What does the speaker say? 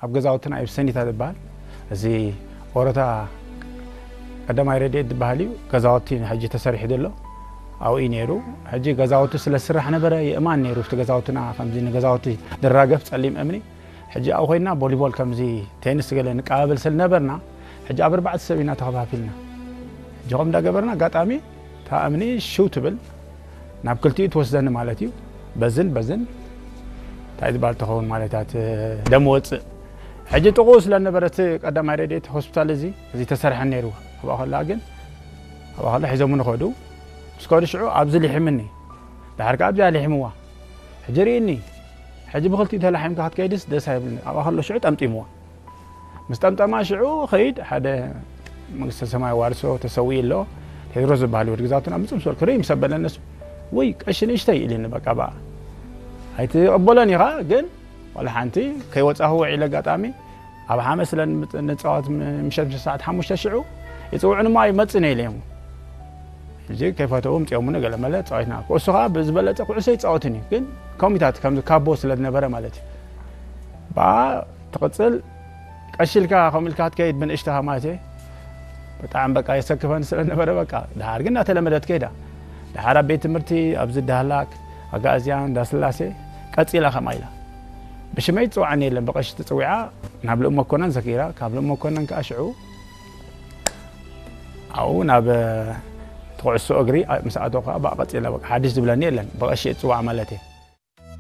ኣብ ገዛውትና እዩ ሰኒታ ዝበሃል። እዚ ኦረታ ቀዳማይ ረድኤት ዝበሃል እዩ። ገዛውቲ ሕጂ ተሰሪሑ ዘሎ ኣብኡ እዩ ነይሩ። ሕጂ ገዛውቲ ስለ ዝስራሕ ነበረ፣ የእማን ነይሩ እቲ ገዛውትና፣ ከምዚ ንገዛውቲ ዝራገፍ ጸሊም እምኒ። ሕጂ ኣብኡ ኮይና ቮሊቦል፣ ከምዚ ቴኒስ ገለ ንቀባበል ስለ ነበርና፣ ሕጂ ኣብ ኣርባዕተ ሰብ ኢና ተኸፋፊልና። ሕጂ ከም እንዳገበርና፣ ኣጋጣሚ እታ እምኒ ሽው ትብል፣ ናብ ክልቲኡ ትወስደኒ ማለት እዩ። በዝን በዝን እንታይ ዝበሃል ትኸውን ማለት እያ፣ ደም ወፅእ። ሕጂ ጥቕኡ ስለ ነበረ እቲ ቀዳማይ ረድኤት ሆስፒታል እዚ፣ እዚ ተሰርሐ ነይሩ። ኣብኣ ከላ ግን፣ ኣብኣ ከላ ሒዞምኒ ከዱ። ምስ ከዱ ሽዑ ኣብዚ ሊሒምኒ። ድሓር ከኣ ኣብዚኣ ሊሒምዋ። ሕጂ ርኢኒ፣ ሕጂ ብኽልቲኡ ተላሒምካ ክትከይድስ ደስ ኣይብልኒ። ኣብኣ ከሎ ሽዑ ጠምጢምዋ። ምስ ጠምጠማ ሽዑ ኸይድ፣ ሓደ መንግስተ ሰማይ ዋርሶ ተሰዊኡ ኣሎ፣ ቴድሮስ ዝበሃል ወዲ ግዛውትና፣ ምጽእ ምስ በልኩ፣ ርኢ ምስ ኣበለ፣ ነሱ፣ ወይ ቀሺ ንእሽተይ ኢሉኒ፣ በቃ፣ ብኣ ኣይትቕበሎን ኢኻ፣ ግን ዋላ ሓንቲ ከይወጻኹ ውዒለ፣ ኣጋጣሚ ኣብ ሓመ ስለ ንምጽ-፣ ንጻወት፣ ም-፣ ምሸት፣ ምሸት ሰዓት ሓሙሽተ ሽዑ ይጽውዑኒ እሞ ኣይመጽእን እየ ኢለዮም። ሕጂ ከይፈተዉ ምጽኦምኒ፣ ገለ መለ ጻዊትና። ኩዕሶ ኸኣ ብዝበለጸ ኩዕሶ ይጻወትን እዩ፣ ግን ከምኡታት፣ ከምዚ ካቦ ስለ ዝነበረ ማለት እዩ። ብኣ ትቕጽል፣ ቀሺ ኢልካ ከምኡ ኢልካ ክትከይድ ብንእሽተኻ ማለት እየ። ብጣዕሚ በቃ የሰክፈኒ ስለ ነበረ፣ በቃ፣ ድሓር ግን እናተለመደት ከይዳ። ድሓር ኣብ ቤት ትምህርቲ፣ ኣብዚ ዳህላክ፣ ኣጋእዝያን፣ እንዳስላሴ፣ ቀጺላ ከምኣ ኢላ። ብሽመይ ትጽውዓኒ የለን፣ ብቐሺ ተጸዊዓ ናብ ልኡም መኮነን ዘኪራ፣ ካብ ልኡም መኮነን ከኣ ሽዑ ኣብኡ ናብ፣ እ፣ እቲ ኩዕሶ እግሪ ምስ ኣተኹ ከኣ ብኣ ቀጺላ፣ በቃ፣ ሓድሽ ዝብለኒ የለን፣ ብቐሺ እየ ዝጽዋዕ ማለት እየ።